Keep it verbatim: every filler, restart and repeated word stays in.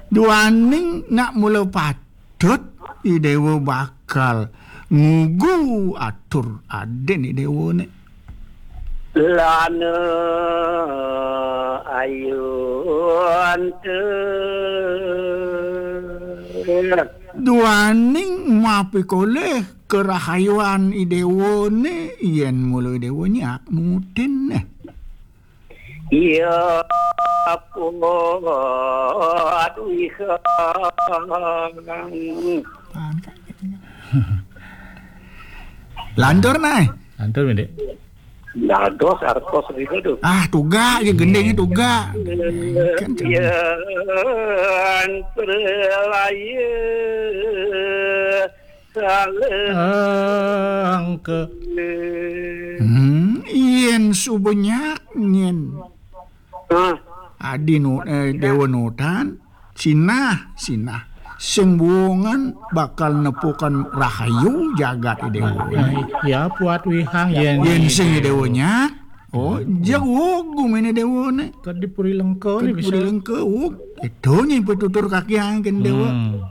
Duaning nak mula patut, i déwa bakal ngugu atur adin i déwané. Lana ayun te. Duaning mapikolih karahayuan i déwané, yén mula i déwa nyak nutin né. Iya, aduh, wihang. Lantur, Nay. Lantur, Mindik. Dados artos riba tu. Ah, tugak ya, gendingnya tugak. Kan, yén pralaya salengka. Hmm, yén suba nyak nyén. Ah. Adi nu, eh, déwa nutan, sinah, sinah. Sing buungan bakal nepukan rahayu jagat i déwa. Ya, ya, puat wihang yén, yén sing i déwa nyak. Oh, hmm, jeg wog guminé déwané. Ka di Puri Lengka né bisa. Puri Lengka, wog. Itu nyén pitutur kakiang kén déwa. Hmm.